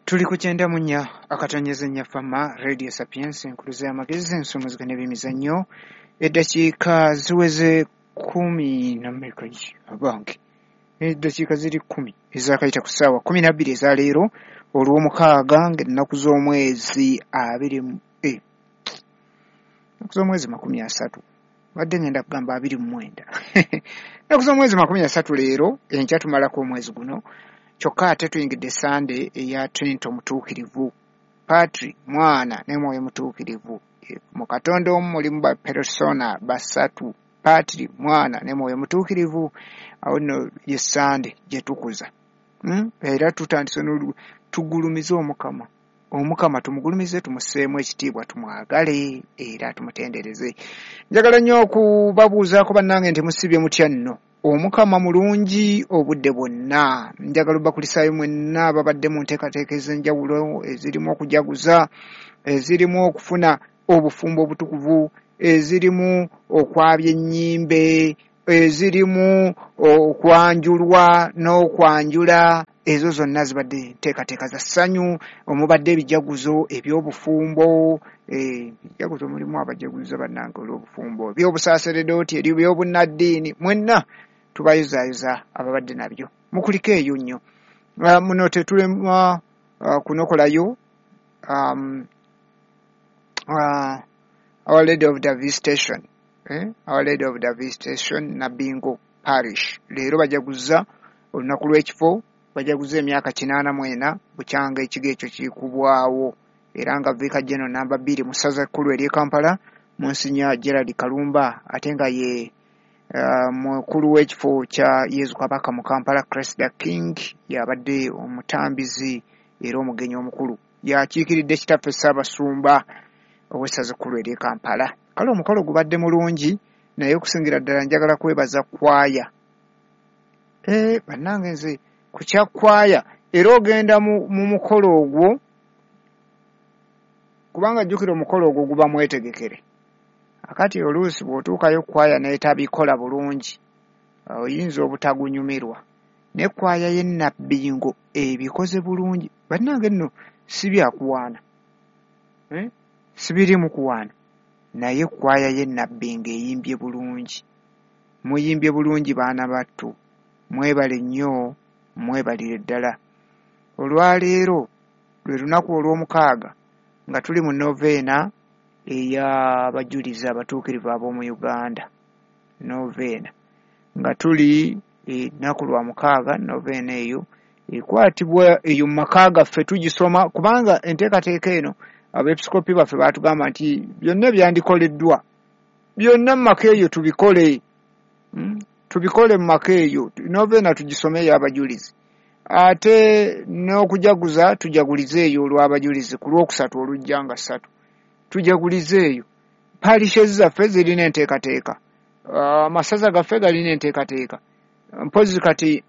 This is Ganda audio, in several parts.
Tuli ku 94.4 Fama Radio Sapiens, enkuluze y'amagezi, ensomozeka n'ebyemizannyo. Eddakiika ziweze kumi na mmeka abange? Eddakiika ziri 10 ezaakayita ku ssaawa 12 eza leero olw'omukaaga, ng'ennaku z'omwezi abiri, ennaku z'omwezi 30, badde ngenda kugamba 29, ennaku z'omwezi 30 leero, enkya tumalako omwezi guno. Kyokka ate tuyingidde Sande eya Trinity Omutuukirivu, Patri, Mwana ne Mwoyo Mutuukirivu. Mu Katonda omu mulimu ba persona basatu, Patri, Mwana ne Mwoyo Mutuukirivu. Awo nno ye Sande gye tukuza. Era tutandise tugulumize Omukama. Omukama tumugulumize, tumusseemu ekitiibwa, tumwagale era tumutendereze. Njagala nnyo okubabuuzaako bannange nti musibye mutya nno? Omukama mulungi obudde bwonna. Njagala obakulisaayo mwenna ababadde mu nteekateeka ez'enjawulo ezirimu okujaguza, ezirimu okufuna obufumbo obutukuvu, ezirimu okwabya ennyimbe, ezirimu okwanjulwa n'okwanjula. Ezo zonna zibadde nteekateeka za ssanyu, omubadde ebijaguzo eby'obufumbo, ebijaguzo mulimu abajaguza bannange olw'obufumbo, eby'obusaaseredooti, eby'obunnaddiini, mwenna tubayozaayoza ababadde nabyo. Mukulike eyo nnyo. Muno tetulema kunokolayo Our Lady of the Visitation, Our Lady of the Visitation Nabingo Parish. Leero bajaguza olunaku lw'ekifo, bajaguza emyaka 84 bukyanga ekigo ekyo kikubwawo, era nga Vicar General namba 2 mu ssaza ekkulu ery'e Kampala, Monsignor Gerald Kalumba, ate nga ye mukulu w'ekifo kya Yezu Kabaka mu Kampala, Christ the King, yabadde omutambizi era omugenyi omukulu, yakiikiridde kitaffe Ssaabasumba ow'essaza ekkulu ery'e Kampala. Kale omukolo gubadde mulungi, naye okusingira ddala njagala kwebaza kwaya. Bannange nze ku kya kwaya, era ogenda mu mukolo ogwo, kubanga jjukira omukolo ogwo guba mwetegekere. Akati oluusi bw'otuukayo kwaya n'etabikola bulungi, oyinza obutagunyumirwa. Ne kwaya y'e Nabbingo ebikoze bulungi. Bannange nno si byakuwaana, si birimu kuwaana, naye kwaya y'e Nabbingo eyimbye bulungi. Muyimbye bulungi baana battu, mwebale nnyo, mwebalire ddala. Olwaleero lwe lunaku olw'omukaaga nga tuli mu noveena ey'abajulizi abatuukirivu ab'omu Uganda. Noveena nga tuli ennaku lwa mukaaga, noveena eyo ekwatibwa eyo mu maka gaffe tugisoma, kubanga enteekateeka eno abeepisikoopi baffe baatugamba nti byonna byandikoleddwa byonna mu maka eyo tubikole, tubikole mu maka eyo. Noveena tugisome ey'abajulizi, ate n'okujaguza tujagulize eyo olw'abajulizi ku lwokusatu olujja nga 3 tujagulize eyo. Parishes zaffe zirina enteekateeka, amasaza gaffe galina enteekateeka. Mpozi kati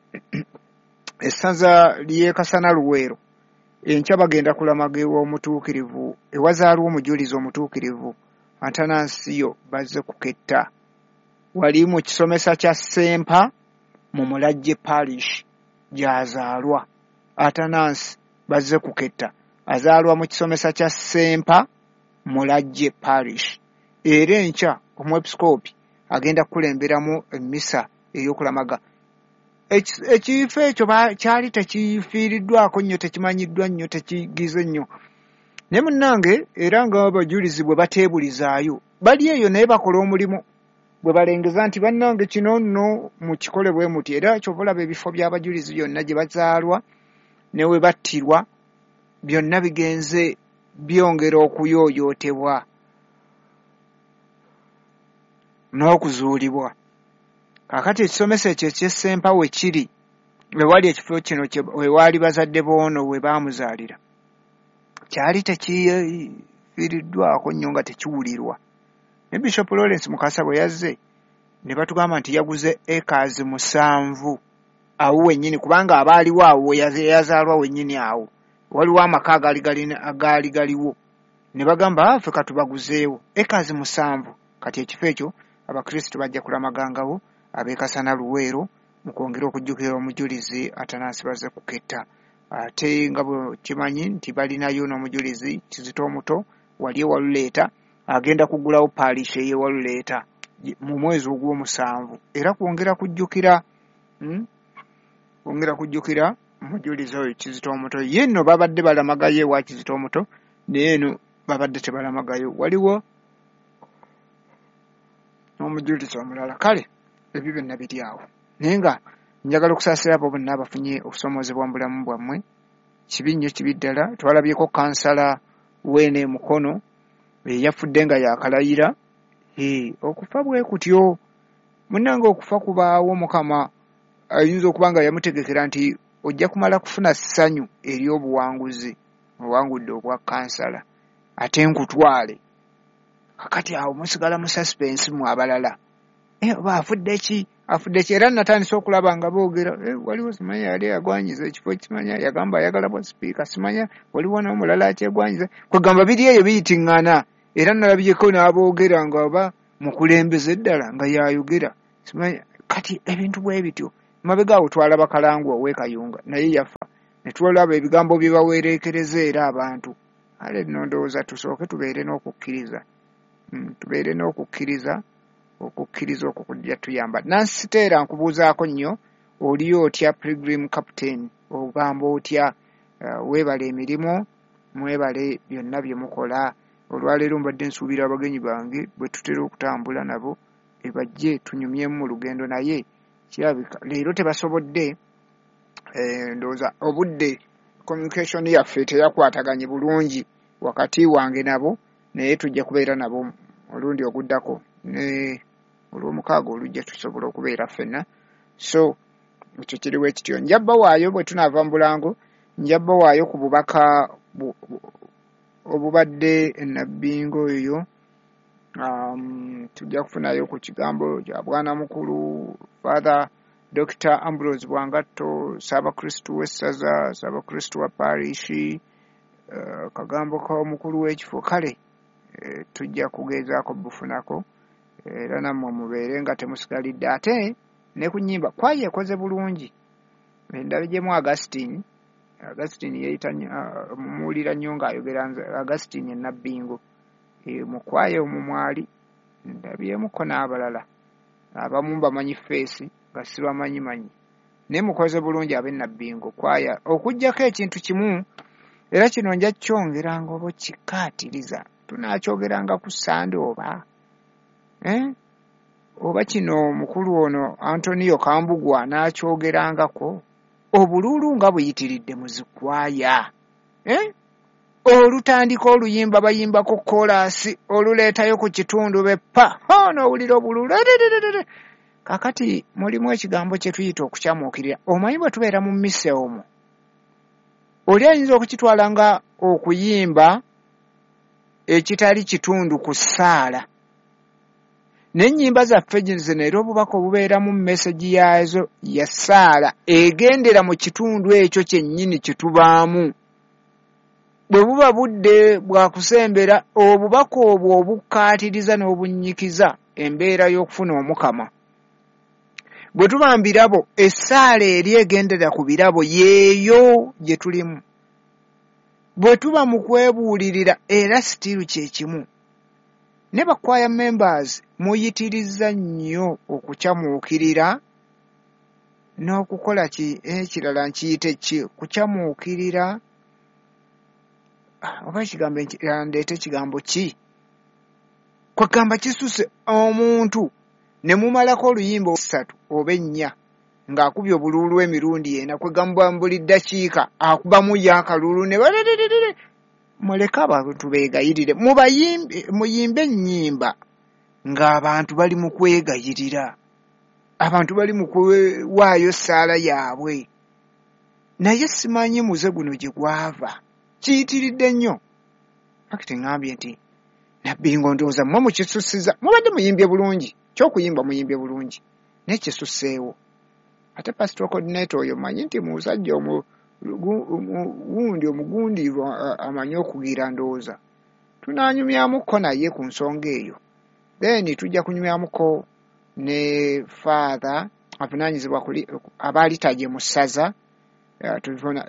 essaza ly'e Kasana Luweero enkya bagenda kulamaga ew'omutuukirivu, ewazaalwa omujulizi omutuukirivu Atanasiyo bazze kuketta, wali mu kisomesa kya Ssempa mu Mulajje Parish gy'azaalwa. Atanasi bazze kuketta, azaalwa mu kisomesa kya Ssempa Mulajje Parish. Era enkya omwepisikoopi agenda kukulemberamu emmisa ey'okulamaga. Ekifo ekyo kyali tekifiiriddwako nnyo, tekimanyiddwa nnyo, tekigize nnyo. Naye munnange era nga abajulizi bwe bateebulizaayo, bali eyo naye bakola omulimu bwe balengeza nti bannange kino nno mukikole bwe muti. Era kyova olaba ebifo by'abajulizi byonna gye bazaalwa ne we battirwa byonna bigenze byongera okuyooyootebwa n'okuzuulibwa. Kaakati ekisomesa ekyo eky'Ssempa we kiri, ewali ekifo kino we waali bazadde b'ono we baamuzaalira, kyali tekifiiriddwako nnyo nga tekiwulirwa. Ne Bishop Lawrence Mukasa bwe yazze ne batugamba nti yaguze acres 7 awo wennyini, kubanga abaaliwo awo yazaalwa wennyini awo, waliwo amaka agaali galiwo, ne bagamba ffe katubaguzeewo acres 7. Kati ekifo ekyo abakristu bajja kulamagangawo ab'e Kasana Luweero mu kwongera okujjukira omujulizi Atanasi bazze kuketta. Ate nga bwe kimanyi nti balinayo n'omujulizi Kizito omuto wali ewaluleeta, agenda kuggulawo paalishi ey'ewaluleeta mu mwezi ogw'omusanvu, era kwongera kujjukira kwongera kujjukira omujulizi oyo Kizito omuto. Ye nno babadde balamagayo ewa Kizito omuto, naye eno babadde tebalamagayo, waliwo n'omujulizi omulala. Kale ebyo byonna biri awo, naye nga njagala okusaasira abo bonna abafunye okusoomoozebwa mu bulamu bwammwe. Kibi nnyo, kibi ddala. Twalabyeko kansala weene Mukono eyafudde nga yakalayira. Okufa bwe kutyo munnange, okufa kubaawo. Mukama ayinza okuba nga yamutegekera nti ojja kumala kufuna ssanyu ery'obuwanguzi, owangudde obwa kansala, ate nkutwale. Kakati awo musigala mu suspense mu abalala, oba afudde ki, afudde ki? Era natandise okulaba nga boogera, waliwo simanya yali yagwanyiza ekifo, kimanya yagamba ayagala bwa sipiika, simanya waliwo n'omulala akyegwanyiza. Kwegamba biri eyo biyitiŋŋana. Era nalabyeko n'aboogera nga oba mukulembeze ddala nga yayogera, simanya. Kati ebintu bwe bityo. Mabega awo twalaba Kalangu ow'e Kayunga, naye yafa, ne tulaba ebigambo bye bawereekereza era abantu. Ale nno ndowooza tusooke tubeere n'okukkiriza, tubeere n'okukkiriza. Okukkiriza okwo kujja tuyamba. Nansiteera nkubuuzaako nnyo, oli otya Pilgrim Captain? Ogamba otya? Weebale emirimu, mwebale byonna bye mukola. Olwaleero mbadde nsuubira abagenyi bange bwe tutera okutambula nabo ebajje tunyumyemu mu lugendo, naye kirabika leero tebasobodde. Ndowooza obudde, communication yaffe teyakwataganye bulungi wakati wange nabo, naye tujja kubeera nabo olundi oguddako, ne olwomukaaga olujja tusobola okubeera ffenna. So ekyo kiriwo ekityo. Nja bbawaayo bwe tunaava mu bulango, nja bbawaayo ku bubaka obubadde enabbingo oyo. Tujja kufunayo ku kigambo kya bwana mukulu Father Dr Ambrose Bwangatto, Ssaabakristu w'essaza, Ssaabakristu wa parishi, kagambo k'omukulu w'ekifo. Kale tujja kugezaako bufunako, era nammwe mubeere nga temusigalidde. Ate ne ku nnyimba, kwaya ekoze bulungi. Endabigyemu Augustine, Augustine yeeyita, mumuwulira nnyo ng'ayogera Augustine Enabbingo mu kwaya omwo mwali, ndabyemuko n'abalala abamu bamanyi face nga sibamanyi manyi, naye mukoze bulungi ab'Enabbingo kwaya, okuggyako ekintu kimu. Era kino nja kyongeranga oba kikaatiriza, tunaakyogeranga ku Sande oba oba kino mukulu ono Antonio Kambugwa n'akyogerangako. Obuluulu nga buyitiridde mu zikwaya, Olutandika oluyimba bayimbako koolaasi, oluleetayo ku kitundu beppa n'owulira obuluulu. Kakati mulimu ekigambo kye tuyita okukyamuukirira. Omanyi bwe tubeera mu mmisa omwo, oli ayinza okukitwala nga okuyimba ekitali kitundu ku ssaala, n'ennyimba zaffe zino era obubaka obubeeramu message yaazo ya ssaala egendera mu kitundu ekyo kyennyini kye tubaamu. Bwe buba budde bwa kusembera, obubaka obwo obukkaatiriza n'obunnyikiza embeera y'okufuna Omukama. Bwe tuba mu birabo, essaala eri egendera ku birabo yeeyo gye tulimu. Bwe tuba mu kwebuulirira, era sitiiru kye kimu. Ne bakwaya members muyitiriza nnyo okukyamuukirira n'okukola ki ekirala, nkiyite ki, kukyamuukirira oba ekigambo ndeete ekigambo ki, kwegamba kisuse omuntu ne mumalako oluyimba 3 oba 4 ng'akubye obuluulu emirundi 4, kwegamba buli ddakiika akubamu ye akalulu ne muleke abantu beegayirire. Muyimbe ennyimba ng'abantu bali mu kwegayirira, abantu bali mu kuwaayo ssaala yaabwe. Naye simanyi muze guno gye gwava, kiyitiridde nnyo. Fakiti ŋŋambye nti Nabbingo ndowooza mmwe mukisussiza. Mubadde muyimbye bulungi, kyokuyimba muyimbye bulungi, naye kisusseewo. Ate pastoral coordinator oyo manyi nti musajja wundi omugundiivu, amanyi okugira. Ndowooza tunaanyumyamukko naye ku nsonga eyo. Then tujja kunyumyamuko ne Father avunaanyizibwa abaalitagye mu ssaza.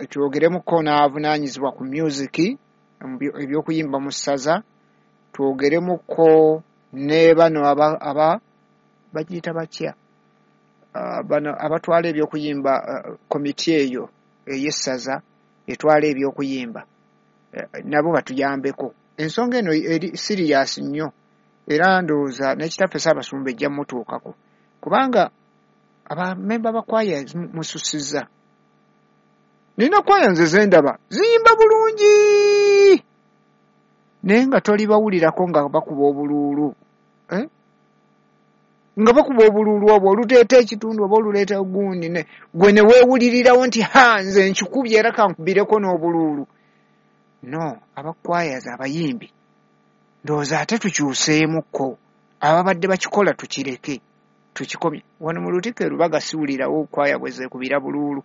Twogeremuko n'avunaanyizibwa ku music, ebyokuyimba mu ssaza. Twogeremuko ne bano aba bagiyita batya, bano abatwala ebyokuyimba, komiti eyo ey'essaza etwala ebyokuyimba, nabo batuyambeko. Ensonga eno eri serious nnyo, era ndowooza n'ekitaffe Ssaabasumba ejja mutuukako, kubanga abamemba ba kwaya mususizza. Nina kwaya nze zendaba ziyimba bulungi, naye nga tolibawulirako nga bakuba obuluulu, nga bakuba obuluulu obwo oluteeta ekitundu oba oluleeta gundi, gwe ne weewulirirawo nti ha, nze nkikubye era kankubireko n'obuluulu. No, abakwayaza abayimbi ndowooza ate tukyuseemukko, ababadde bakikola tukireke, tukikomye. Wano mu Lutikko e Lubaga siwulirawo kwaya bwe zeekubira buluulu.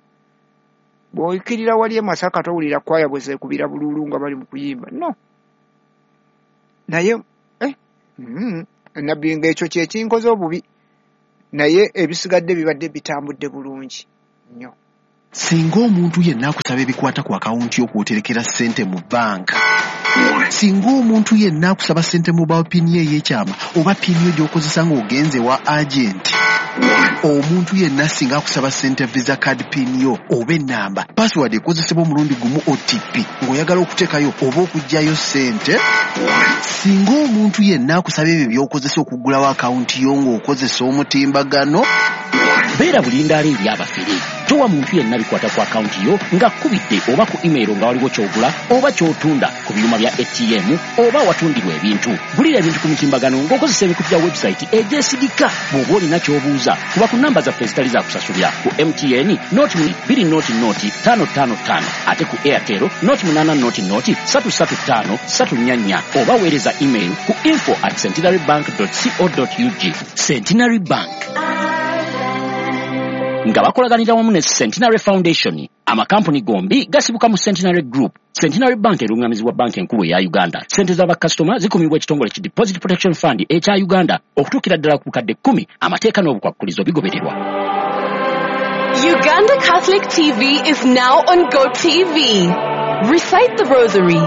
Bw'oyikirira wali e Masaka towulira kwaya bwe zeekubira buluulu nga bali mu kuyimba. No. Naye nabbi ng'ekyo kye kinkoze obubi, naye ebisigadde bibadde bitambudde bulungi nnyo. Singa omuntu yenna akusaba ebikwata ku akawunti yo kw'oterekera ssente mu bbanka, singa omuntu yenna akusaba ssente mobile PIN ye ey'ekyama oba PIN yo gy'okozesa ng'ogenze wa agenti, omuntu yenna singa akusaba ssente visa card PIN yo oba ennamba, password ekozesebwa omulundi gumu OTP ng'oyagala okuteekayo oba okuggyayo ssente, singa omuntu yenna akusaba ebyo by'okozesa okuggulawo akawunti yo ng'okozesa omutimbagano, beera bulindaala eri abafere. Towa muntu yenna bikwata ku akawunti yo ng'akkubidde oba ku email nga waliwo ky'ogula oba ky'otunda ku byuma bya ATM oba awatundirwa ebintu. Gulira ebintu ku mitimbagano ng'okozesa emikutu gya website egyesigika. Bw'oba olina ky'obuuza, kuba ku namba zaffe ezitali za kusasulira ku MTN 020 0 555, ate ku Airtel 080 335 344, oba weereza email ku info@centenarybank.co.ug. Centenary Bank nga bakolaganira wamu ne Centenary Foundation. Amakampuni gombi gasibuka mu Centenary Group. Centenary Bank erungamizibwa Banka Enkulu eya Uganda. Sente z'abakasitoma zikumibwa ekitongole ki Deposit Protection Fund ekya Uganda okutuukira ddala ku bukadde 10. Amateeka n'obukwakkulizo bigobererwa. Uganda Catholic TV is now on GoTV. Recite the Rosary,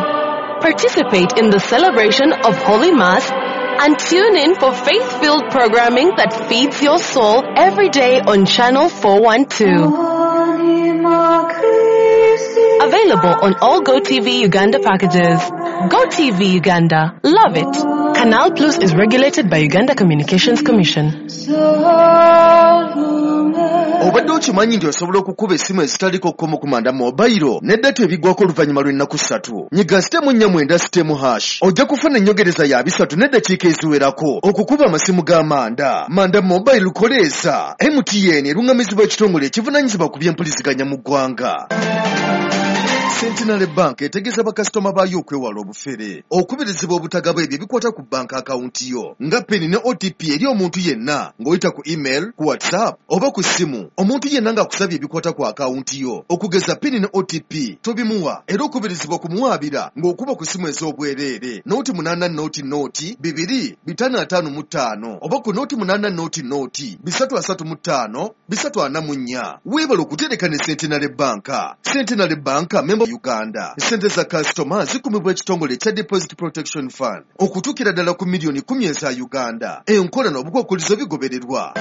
participate in the celebration of Holy Mass, and tune in for faith-filled programming that feeds your soul every day on Channel 412. Available on all GoTV Uganda packages. GoTV Uganda. Love it. Canal Plus is regulated by Uganda Communications Commission. Obadde okimanyi nti osobola okukuba essimu ezitaliko kkomo ku Manda Mobile ne data ebiggwako oluvannyuma lw'ennaku 3? Nyiga *490*# ojja kufuna ennyogereza ya 30 n'eddakiika eziwerako okukuba amasimu ga Manda. Manda Mobile koleesa MTN, eruŋŋamizibwa ekitongole ekivunaanyizibwa ku byempuliziganya mu ggwanga. Centenary Bank etegeeza bakasitoma baayo okwewala obufere. Okubirizibwa obutagaba ebyo ebikwata ku banka akawunti yo nga PIN ne OTP eri omuntu yenna ng'oyita ku email, ku WhatsApp oba ku ssimu. Omuntu yenna ng'akusabye ebikwata ku akawunti yo okugeza PIN ne OTP, tobimuwa, era okubirizibwa kumuwaabira ng'okuba ku ssimu ez'obwereere 080 002 555 oba ku 080 003 35 344. Weebale okutereka ne Centenary Bank. Centenary Bank member Uganda. Ssente za kasitoma zikumibwa ekitongole ekya Deposit Protection Fund okutuukira ddala ku miliyoni 10 eza Uganda. Enkola n'obukwakkulizo bigobererwa.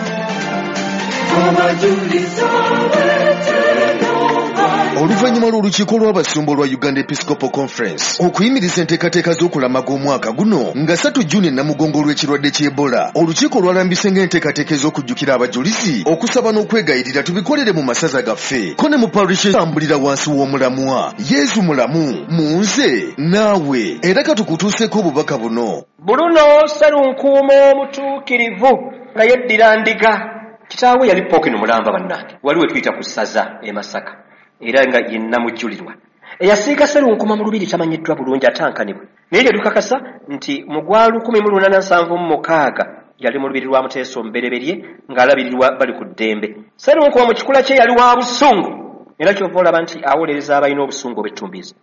Oluvannyuma lw'olukiiko lw'abasumba olwa Uganda Episcopal Conference okuyimiriza enteekateeka z'okulamaga omwaka guno nga 3 Juni Namugongo olw'ekirwadde ky'Ebola, olukiiko lwalambise ng'enteekateeka ez'okujjukira abajulizi, okusaba n'okwegayirira tubikolere mu masaza gaffe ko ne mu parish, tambulira wansi w'omulamwa "Yezu mulamu mu nze naawe". Era katukutuuseeko obubaka buno. Buluno Sserunkuuma omutuukirivu nga yeddira Ndiga. Kitaawe yali Pookino mulamba. Bannange, wali we tuyita ku ssaza e Masaka, era nga yenna mujjulirwa. Eyasiiga Sserunkuma mu lubiri tamanyiddwa bulungi, atankanibwa, naye tetukakasa nti mu gwa 1876 yali mu lubiri lwa Muteesa Omubereberye ng'alabirirwa bali ku ddembe. Sserunkuma mu kikula kye yali wa busungu, era kyova olaba nti awolereza abalina obusungu obwettumbiizi.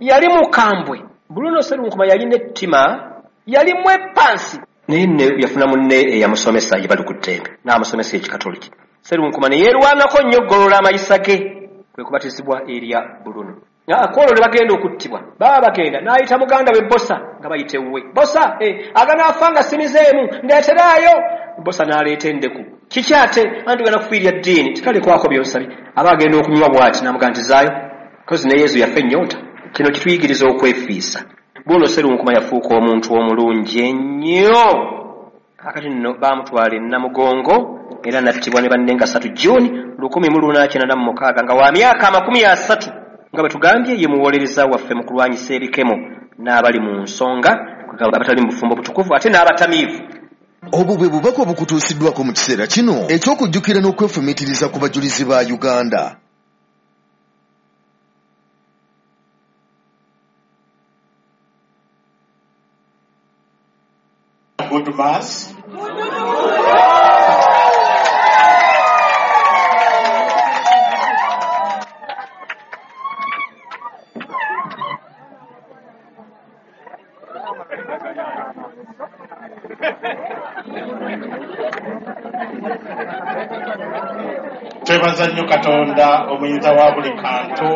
Yali mukambwe. Buluno Sserunkuma yalina ettima, yali mwepansi, naye ne yafuna munne eyamusomesa ye bali ku ddembe n'amusomesa Ekikatoliki. Sserunkuma ne yeerwanako nnyo okugolola amayisa ge. Kwe kubatizibwa erya Bruno. Kwolwo lwe bagenda okuttibwa, baba bagenda n'ayita muganda we Bosa, nga bayita ewuwe. Bosa, aganaafa nga simizeemu, ndeeteraayo. Bosa n'aleeta endeku. Kiki ate? Anti tugenda kufiirya ddiini, tikalekwako by'osabye. Aba agenda okunywa bw'ati, n'amugamba nti zaayo. Kozi ne Yezu yafa ennyonta. Kino kituyigiriza okwefiisa. Bw'ono Sserunkuma yafuuka omuntu omulungi ennyo. Kaakati nno baamutwala e Namugongo era n'attibwa ne banne nga 3 June 1896 nga wa myaka 30. Nga bwe tugambye, ye muwolereza waffe mu kulwanyisa ebikemo n'abali mu nsonga, abatali mu bufumbo butukuvu ate n'abatamiivu. Obwo bwe bubaka obukutuusiddwako mu kiseera kino eky'okujjukira n'okwefumiitiriza ku bajulizi ba Uganda. Good Mass. Twebaza nnyo Katonda omuyinza wa buli kantu